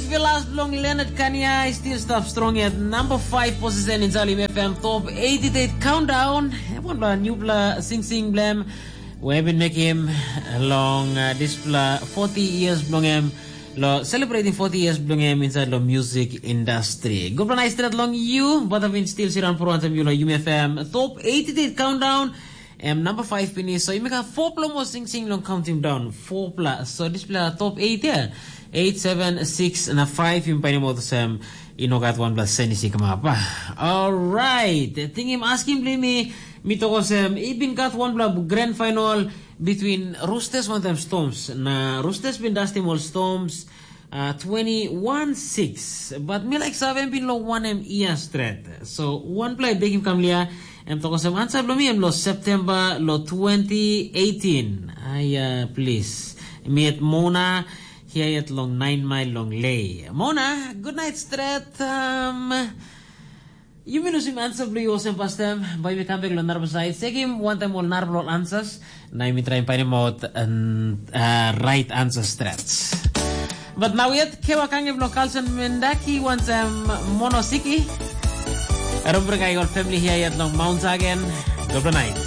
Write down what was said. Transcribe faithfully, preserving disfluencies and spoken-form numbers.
Velas bilong Leonard Kania i still stap strong yet number five position in Salim F M top eighty-eight countdown. Em wanpela newpela sing sing blem. We have been making him long uh, this pla forty years bilong him. Lo celebrating forty years bilong him inside lo music industry. Good night straight long you, but I've been still sit on for one time you lo Yumi F M top eighty-eight countdown. Em number five pinis, so yumi gat four pla mo sing sing long counting down. Four pla. So this pla top eight ya. Eight, seven, six, na five yumi painim olsem i no gat wanpela senis i kamap. Alright. Tingim askim bli mi, mi tok olsem, i bin gat wanpela grand final between Roosters wantaim Storms. Na Roosters bin dastim ol Storms uh, twenty-one six. But mi like save bin lo wanem ia stret. So wanpela i bekim kam lia, em tok olsem ansa bilong mi em lo September lo twenty eighteen. Aia, please. Mi et Mona, hia yet long nine mile long lei. Mona, good night stret. Um, yumi lusim ansa bilong yu olsem pastem, bai mi kam bek long narapela sait. Sekim wantaim ol narapela ol ansas, na yumi traim painim out uh, right answer stret. But now yet, kewa kange bilong Carlson Mendaki wantaim Monosiki. Rumbring ai ol family hia yet long Mount Sagen. Good night.